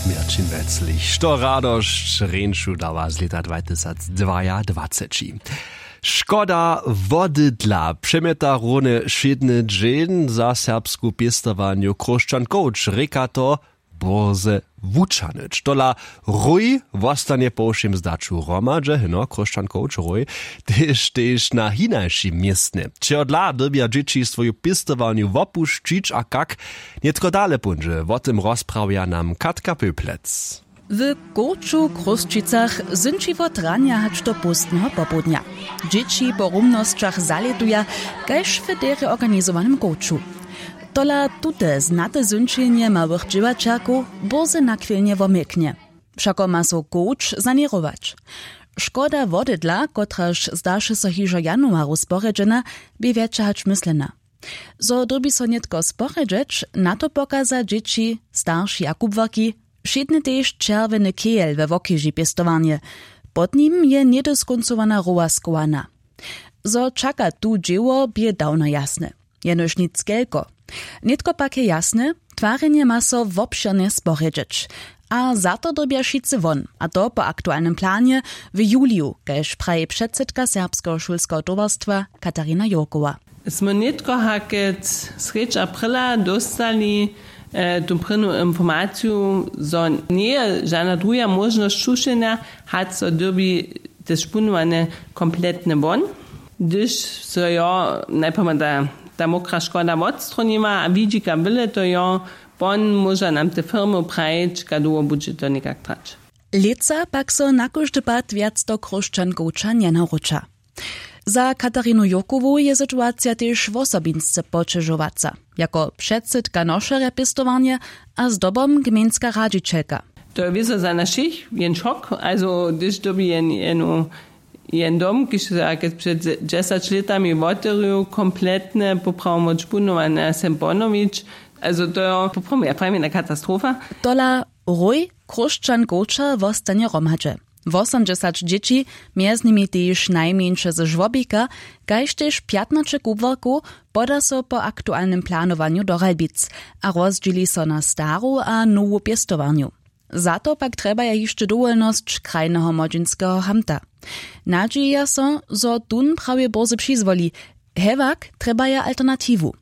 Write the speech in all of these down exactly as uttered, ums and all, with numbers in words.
Měrćin weclich, što radosć rjeńšu dawa z lěta dwatysacdwajadwaceći. Škoda wody dla přemjeta runje wšědny dźeń za serbsku pěstowanju chróšćan coach rěka to, bórze wučanyć tola. Ruj wostanje po wšěm zdaću hromadźe hyno chróšćan coach ruj, tež tež na hinašim městnje čehodla dyrbja dźěći swoju pěstowarnju wopušćić a kak nětko dale póńdźe wo tym rozprawja nam katka pöplec. W coachu w chrósćicach zynči wot ranja hač do póstneho popołdnja. Dźěći po rumnosćach zalětuja kaž w derje organizowanym coachu. Tola tute znate zynčenje małych dźěłaćerkow bórze nachwilnje womilknje. Wšako ma so coach saněrować. Škoda wody dla kotraž zdaše so hižo januaru sporjedźena, bě wjetša hač myslena. Zo dyrbi so nětko sporjedźeć, na to pokaza dźěći, starši a kubłarki. Wšědny tež čerwjeny kejel we wokeži pěstowarnje. Pod nim je njedyskoncowana roła schowana. Zo čaka tu dźěło bě dawno jasne. Jenož nic kelko. Nětko pak je jasne, twarjenje ma so wobšěrnje sporjedźeć. A za to dyrbja wšitcy won, a to po aktualnym planje, w juliju, kaž praji předsydka serbskeho šulskeho towarstwa katarina jurkowa. Smy nětko hakec srjedź aprila dóstali tu prěnu informaciju, zo njeje žana druha móžnosć čušenja, hač so dyrbi tež punowane kompletne won. Hdyž so jo najprjema ta mokra škoda wotstronima a widźika byle to jo, won móža nam te firmy prajić kaž dołho budźe to někak trać. Lětsa pak so na kóždy pad wjac do chróšćan coacha njenawróća. Za katarinu jurkowu je situacija tež wosobinsce poćežowaca, jako předsydka nošerja pěstowarnje a zdobom gmejnska radźićelka. To je wězo za nas wšěch jen šok, also hdyž dyrbi jen jenu jen dom kiž so jak před dźesać lětami wotewrju kompletne poprawom punowane sem ponowić. Also to jo poprawom ja prajim jedna katastrofa. Tola, rój chróšćan coacha wostanje hromadźe. Wosomdźesać dźěći, mjez nimi tež najmjeńše ze žłobika, kaž tež pjatnaće kubłarkow, poda so po aktualnym planowanju do ralbic a rozdźěli so na staru a nowu pěstowarnju. Za to pak trjebaja hišće dowolnosć krajneho młodźinskeho hamta. Nadźijeja so, zo tón prawje bórze přizwoli. Hewak trjebaja alternatiwu.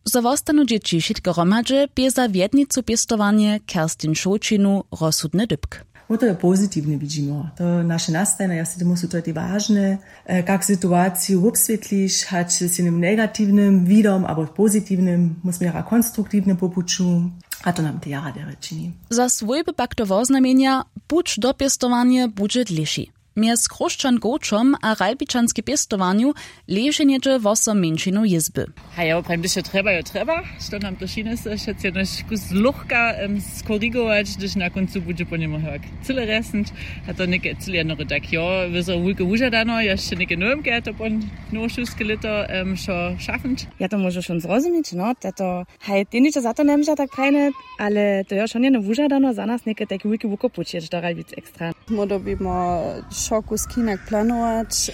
Zo wostanu dźěći wšitke hromadźe bě za wjednicu pěstowarnje kerstin šołćinu rozsudny dypk. Wo to je pozitiwnje widźimo to naše nastajnje ja sej tomu su to te wažne, kak situaciju wobswětliš hač z jenym negatiwnym widom abo pozitiwnym mósměra konstruktiwnym popuću. A to nam te jara derje čini. Za swójby pak to woznamjenja, puć do pěstowarnje budźe dlěši. Mjez chróšćan coachom a ralbičanskej pěstowarnju leženjeće wosom mjeńšinow jězby. Haj ja woprawim hdyž jo trjeba jo trjeba, što nam to šinysy wšetc jenož kus luchka skorigować hdyž na kóncu budźe po němu hewak cyle rjesnyć. A to něke cyle jednory tak jo wězo wulke wužadano ja sće něke nowemke ja to po nowošulske lěto wšo šafnyć. Ja to móžu wšón zrozumić no tato. Haj tehniko za to njemóža tak prajne, ale to jo wšón jeno wužadano za nas něke tajki wulki wukopuć jědź do ralbic ekstra. Móhlo bimo wšo kusk hinak planować.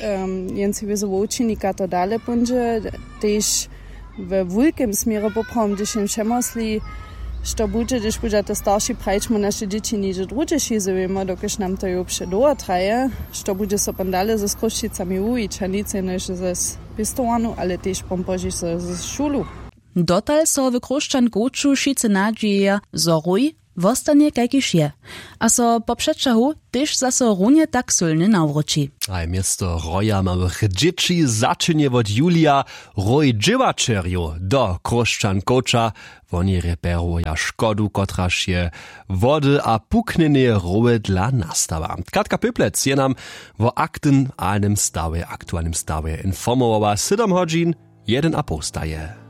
Jen sej wězo wo wučinika to dale póńdźe, tež we wulkem směrje poprawom hdyž jen přemosli, što budźe hdyž budźa to starši prajić mu naše dźěći něhdźe druhdźe šizowjemo dokelž nam to jo předołho traje, što budźe so pon dale z chrósćicami wuwić a nic jenož z pěstowarnu ale tež pon pozdźiš z šulu. Dotal so w chróšćan coachu wšitcy nadźijeja, zo rój wostanje kajkiž je a so po přećahu tež zaso runje tak sylnje nawróći. Haj město roja małych dźěći začinje wot julija rój dźěłaćerjow do chróšćan coacha. Woni reperuja škodu kotraž je wody a puknjenje rołe dla nastała. Katka pyplec je nam wo aktualnym stawje informowała sydom hodźin, jedyn a poł staje.